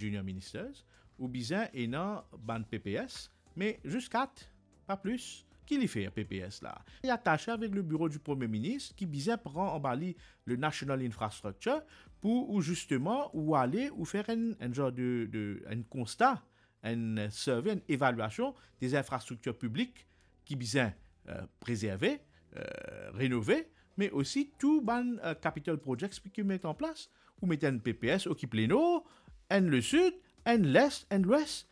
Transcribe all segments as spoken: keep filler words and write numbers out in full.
junior ministers, ou bizin ena bann P P S, me zis kat, pa plis. Ki li fer P P S la? Li atase avek le biro di Premie Minis ki bizin pran anba li le National Infrastructure pou ou zisteman ou ale ou fer enn, enn zor de, de, enn konsta, enn survey, enn evalyasion de zinfrastriktir piblik ki bizin, eh, prezerve, eh, renove, me osi tou bann, eh, capital projects ki met an plas. Ou met enn P P S, okip Lenor, enn Lesid, enn Les, enn Lwes.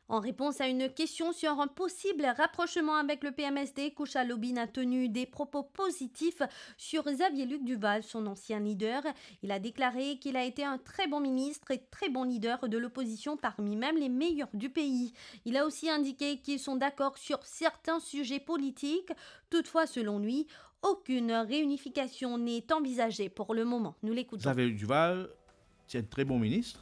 En réponse à une question sur un possible rapprochement avec le P M S D, Kusha Lobin a tenu des propos positifs sur Xavier Luc Duval, son ancien leader. Il a déclaré qu'il a été un très bon ministre et très bon leader de l'opposition, parmi même les meilleurs du pays. Il a aussi indiqué qu'ils sont d'accord sur certains sujets politiques. Toutefois, selon lui, aucune réunification n'est envisagée pour le moment. Nous l'écoutons. Xavier Luc Duval, ti enn tre bon minis.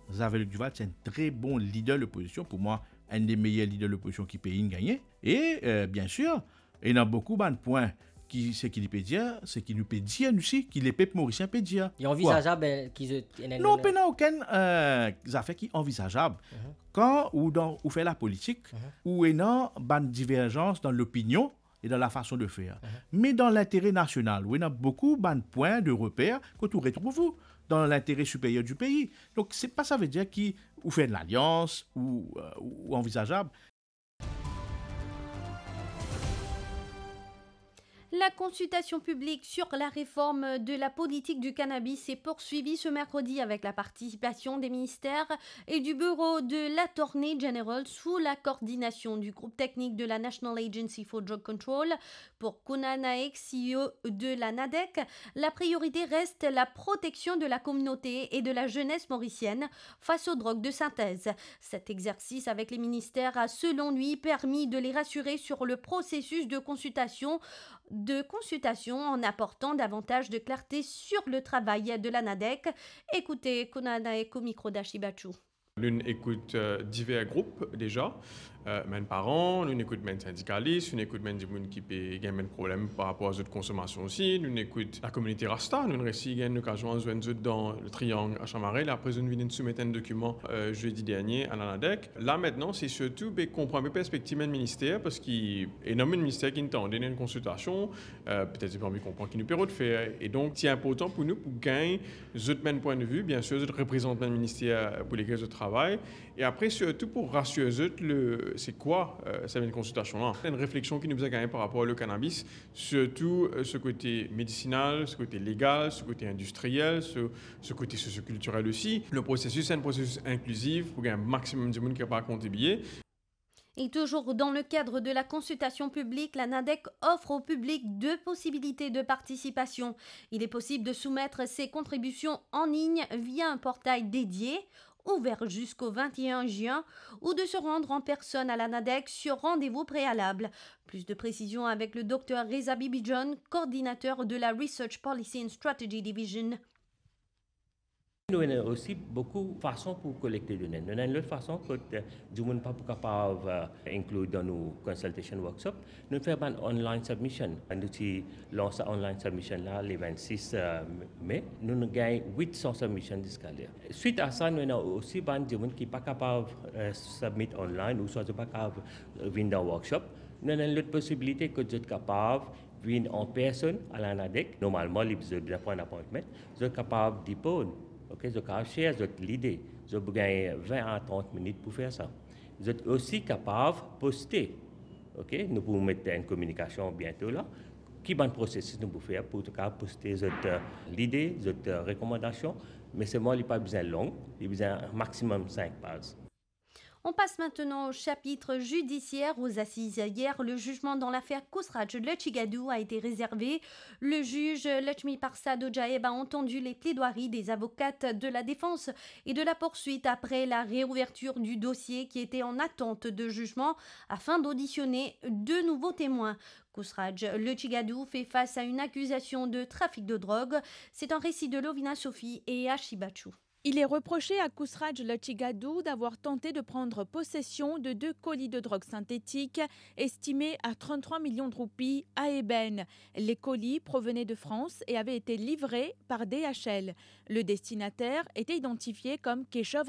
Xavier Luc Duval ti enn tre bon lider lopozision. Pou mwa, enn de meyer lider lopozision ki pei inn gagne. E, eh, biensir, ena boukou bann pwin ki, seki li pe dir, seki nou pe dir nou osi, ki lepep morisien pe dir. Li anvizazab, eh, ki zot, ena, non, ena pena okenn, eh, zafer ki anvizazab. Mhm. Kan ou dan, ou fer lapolitik, mhm, ou ena bann diverzans dan lopinion, e dan lafason de fer. Mhm. Me dan lintere nasional, ou ena boukou bann pwin de reper kot ou retrouv ou dan lintere siperyer di pei. Donk, se pa sa ve dir ki ou fer enn lalians ou, eh, ou anvizazab. La consultation publique sur la réforme de la politique du cannabis s'est poursuivie ce mercredi avec la participation des ministères et du bureau de l'Attorney General sous la coordination du groupe technique de la National Agency for Drug Control. Pour Kunal Naek, C E O de la NADEC, la priorité reste la protection de la communauté et de la jeunesse mauricienne face aux drogues de synthèse. Cet exercice avec les ministères a, selon lui, permis de les rassurer sur le processus de consultation, de consultation en apportant davantage de clarté sur le travail de la NADEC. Écoutez Kunal Naek au micro d'Ashi Bachou. Nou'nn ekout, eh, diver group deza, eh, bann paran, nou'nn ekout bann sindikalis, nou'nn ekout bann dimoun ki pe gagn bann problem par rapor a zot konsomasion osi, nou'nn ekout lakominite Rasta, nou'nn resi gagn lokazion al zwenn zot dan le Triangle a Chamarel, apre zot vinn soumet enn dokiman, eh, zedi dernie a la NADEC. La, aster, se sirtou, be, konpran enpe perspektiv bann minister, parski ena bann minister ki'nn tande, ena enn konsiltasion, eh, petet zot pa anvi konpran ki nou pe rod fer. E donk, ti inportan pou nou pou gagn zot bann pwin de vi, biensir, zot reprezant bann minister pou lekel zot travay. E apre, sirtou pou rasir zot le, se kwa, eh, sa bann konsiltasion la. Enn refleksion ki nou bizin gagn par rapor le cannabis, sirtou, eh, so kote medisinal, so kote legal, so kote indistriel, so, so kote sosiokiltirel osi. Le prosesis, se enn prosesis inklizif pou gagn maximum dimoun ki kapav kontribie. Et toujours dans le cadre de la consultation publique, la NADEC offre au public deux possibilités de participation. Il est possible de soumettre ses contributions en ligne via un portail dédié, ouvert jusqu'au vingt et un juin, ou de se rendre en personne à la NADEC sur rendez-vous préalable. Plus de précisions avec le docteur Reza Bibijohn, coordinateur de la Research Policy and Strategy Division. Nou ena osi boukou fason pou kolekte done. Nou ena enn lot fason kot, eh, dimoun pa pou kapav, eh, include dan nou consultation workshop. Nou fer bann online submission. Nou ti lans sa online submission la le vennsis, eh, me. Nou, nou gagn wit san submission ziska la. Swit a sa, nou ena osi bann dimoun ki pa kapav, eh, submit online ouswa zot pa kapav, eh, vinn dan workshop. Nou ena enn lot posibilite kot zot kapav vinn an personn a la NADEC. Normalman, li, zot bizin pran appointment. Zot kapav depoze, ok, zot kapav share zot lide. Zot pou gagn vin a trant minit pou fer sa. Zot osi kapav poste, ok, nou pou met enn kominikasion biento la. Ki bann prosesis nou pou fer pou zot kapav poste zot, eh, lide, zot, eh, rekomandasion. Me selman li pa bizin long, li bizin maximum sink paz. On passe maintenant au chapitre judiciaire. Aux assises hier, le jugement dans l'affaire Kusraj Lechigadou a été réservé. Le juge Lakshmi Parsad Ojaeb a entendu les plaidoiries des avocates de la défense et de la poursuite après la réouverture du dossier qui était en attente de jugement afin d'auditionner deux nouveaux témoins. Kusraj Lechigadou fait face à une accusation de trafic de drogue. C'est un récit de Lovina Sophie et Ashi Bachou. Il est reproché à Kousraj Lotchigadou d'avoir tenté de prendre possession de deux colis de drogue synthétique estimés à trente-trois millions de roupies à ébène. Les colis provenaient de France et avaient été livrés par D H L. Le destinataire était identifié comme Keshov